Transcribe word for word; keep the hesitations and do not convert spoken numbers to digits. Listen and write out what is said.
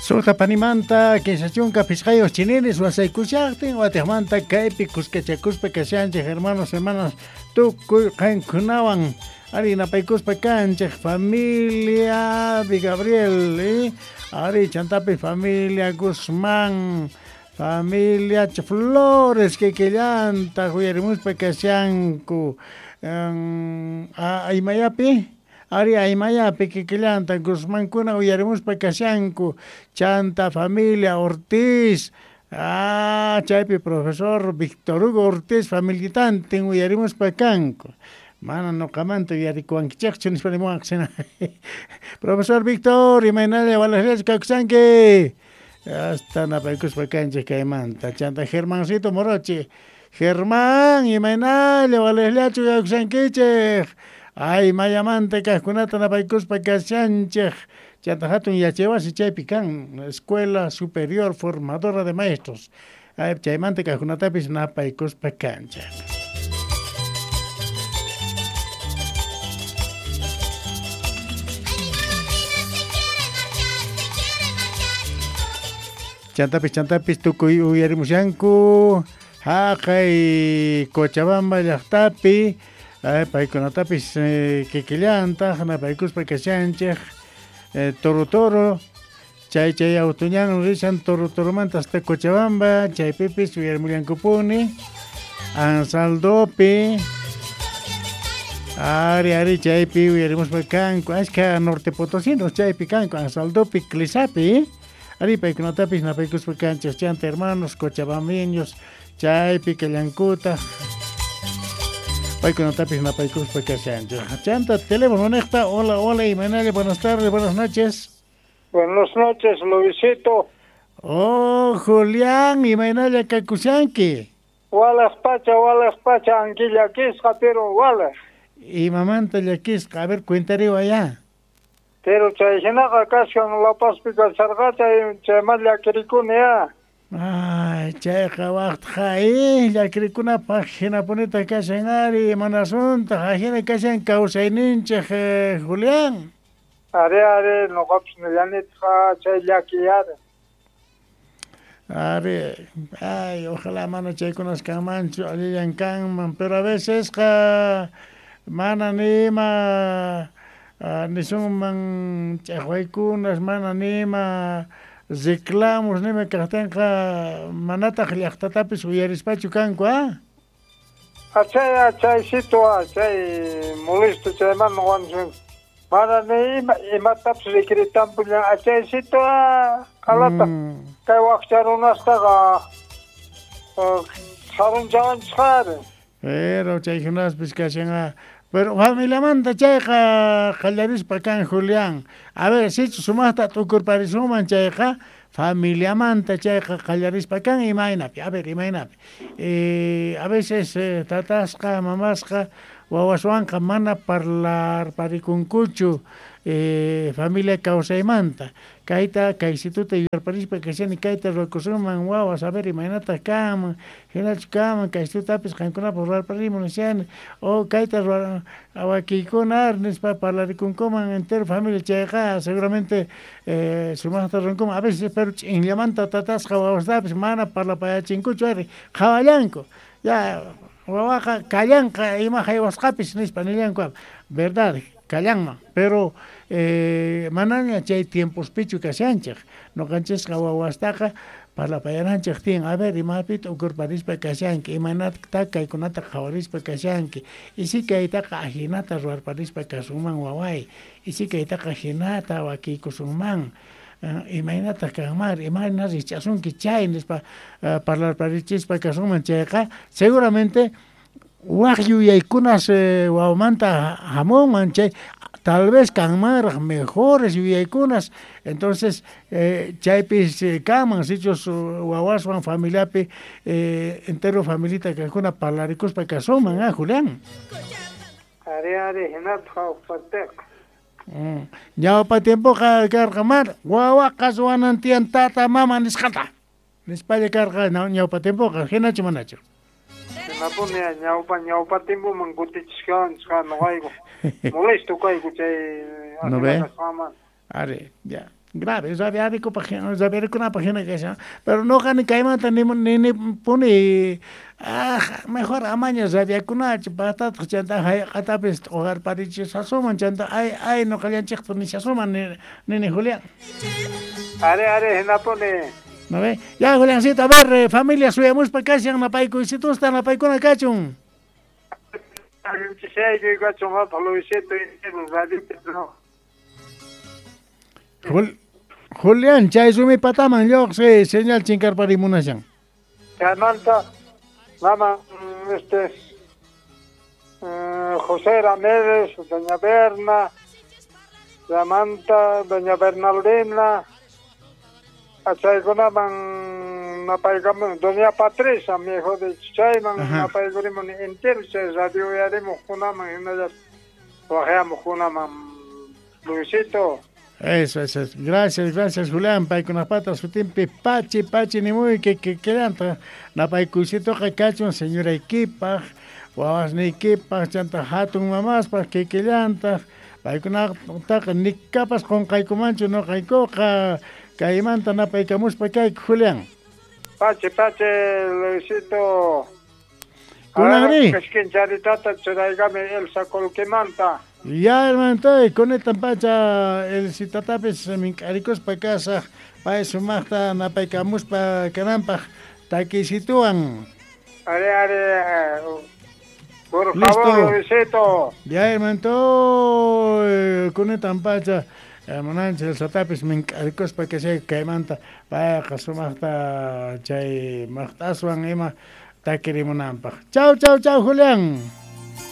Suqta panimanta kinsa chunka phisqayuq chininis wasaykushaqtin watiqmanta kaypi kuskachakuspa kashanchik hermanos hermanas tukuy qankunawan ari napaykuspa kanchik familia Gabriel eh? Ari chantapi familia Guzmán, familia Flores kikillanta uyarimuspa kashanku um, aymayapi ari aymayapi kikillanta Guzmankuna uyarimuspa kashanku chanta familia Ortiz, ah, chaypi profesor Víctor Hugo Ortiz familitantin uyarimuspa kanku. Mana noqamanta uyarikuwankichikchu nispa nimuwanqsina. Profesor Víctor, imaynalla walaqllachu kakushanki? Hasta napaykuspa kanchik kaymanta. Chanta Germancito Morochi. Germán, imaynalla walaqllachu kakushankichik? Ay, mayamanta kaqkunata napaykuspa kashanchik. Chanta hatun yachaywasi chaypi kan, Escuela Superior Formadora de Maestros. Ay, chaymanta kaqkunatapis napaykuspa kanchik. Chantapis, chantapis, tukuy uyarimushanku, haqay Cochabamba llaqtapi, ay, paykunatapis eh, kikillantaq, napaykuspa kashanchik, eh, toro toro, chay chay autuñan rishan toro toromanta hasta Cochabamba, chaypipis uyarimullankupuni, Ansaldopi, ari ari chaypi uyarimuspa kanku, ashka norte potosinos chaypi kanku, Ansaldopi, Clisapi, ari paykunatapis napaykuspa kanchik, chanta hermanos cochabambiños, chaypi kallankuta, paykunatapis napaykuspa kashanchik. Chanta teléfono niqta, hola, hola, imaynalla, buenas tardes, buenas noches. Buenas noches, Luisito. Oh, Julián, imaynalla kakushanki. Walas pacha, walas pacha, anki llakisqa, pero walas. Imamanta llakisqa, a ver, cuentariwa allá. Pero chay hinaqa kashkan La Pazpi kasharqa chay chayman llakirikuni ya. Ay, chayqa waqtqa eh, llakirikunapaq hinapunita kashan ari, imanasuntaj, ajina kashan kawsayninchik eh, Julián. Ari, ari, noqapis nillanitqa chay llaki ari. Ari, ay, ojalá mana chaykunas kanmanchu, allillan kanman, pero a veces qa mana nima Uh, nisunman ch'aqwaykunas mana nima reclamos nima kaqtinqa manataq llaqtatapis uyarispachu kanku, ah? Achay, achaysito, achay molesto chayman wanchun. Mana ni ima imatapis rikritanpullan achaysito, ah, qalata. Mm. Kay waqcha runastaqa sarunchawanchik ari. Pero chaykunaspis kashan, ah. Pero familiamanta chayqa qallarispa kan Julián. A ver, sichus sumaqta t'ukurparisuman chayqa familiamanta chayqa qallarispa kan imaynapi. A ver, imaynapi. Eh, a veces eh, tatasqa, mamasqa, wawaswanqa mana parlarparikunkuchu eh, familia kawsaymanta. Kayta, kaysituta yuyarparispa kashani kayta ruwakusunman wawas, a ver, imaynataq kanman, hinachu kanman, kaysitutapis qankunapaq ruwarparimun nishani, o kayta wakiykuna nispa parlarikunkuman entero familia chayqa seguramente eh, sumaqta ruwankuman. A veces pero ch'inllamanta tatasqa wawastapis mana parlapayachinkuchu ari, qhawallanku. Ya, wawaqa kallanqa ima haywasqapis nispa nillanku, verdad, kallanman, pero eh, manaña chay tiempospichu kashanchik, noqanchisqa wawastaqa parlapayananchik tiyan, a ver, imapita ukurparispa kashanki, imaynata kaykunata qhawarispa kashanki, y si kaytaqa ajinata ruwarparispa kasunman waway, y si kaytaqa jinata wakiykusunman, uh, imaynata kanman, imayna rich'asunki chay nispa uh, parlarparichispa kasunman chayqa, seguramente waq yuyaykunas eh, wawamanta hamunman chay, tal vez kanmanraq mejores yuyaykunas, entonces eh, chaypis eh, kanman sichus wawaswan familiapi eh, entero familita kaqkuna parlarikuspa kasunman, ah, Julián. Ari, ari, hinatqa uqpartiqa. Mm. Ñawpa tiempoqa karqa mar wawaqa ruwanan tiyan tata mama nisqanta nispalla karqa ñawpa tiempoqa, hinachu manachu? Hinapuni ñawpa ñawpa tiempoman kutichishkanchik noqayku. Molesto kayku chay ¿No ve? Ari, ya. Grave, rabiarikupaj rabiarikunapaj hina kashan. Pero noqani kaymanta ni ni puni ah mejor amaña rabiakunachu paqtataq chanta hayq'atapis t'uqarparichisasuman chanta ay ay noqallanchikta nishasuman nini Julián. Are are hinapuni. ¿No ve? Ya Juliancito, a ver, eh, familia suyamuspa kashan napaykuysitusta napaykuna kachun. Jul Julián, chay rumi pataman lluqsi señal chinkarparimunashan. Chaymanta mama este eh, José Ramírez, doña Berna, Chaymanta doña Bernaldina, chaykunaman napaykamun doña Patricia, mi hijo de chayman napaykurimun entero chay radio uyarimuqkunaman hinallataq waqyamuqkunaman Luisito. Eso, eso, eso. Gracias, gracias, Julián. Paykunapata sutinpi pachi, pachi nimuyki kikillanta napaykuysituqa kachun señoraykipaq, wawasniykipaq, chanta hatun mamaspaq kikillantaq. Paykunataqa nikapas qunqaykumanchu noqaykuqa kaymanta napaykamuspa kayku, Julián. Pachi, pachi, Luisito. Kunanri. Kishkincharitata churaykami Elsa Colquimanta. Ya, hermano, con pacha el citatapis mink'arikuspa kasaj pay sumaqta napaykamuspa kananpaq takisituwan. Are, are, por favor, Luisito. Ya, hermano, con pacha hermananchik el satapis mink'arikuspa kashay kaymanta payqa sumaqta chay maqt'aswan ima takirimunanpaq. Chau, chau, chau, Julián.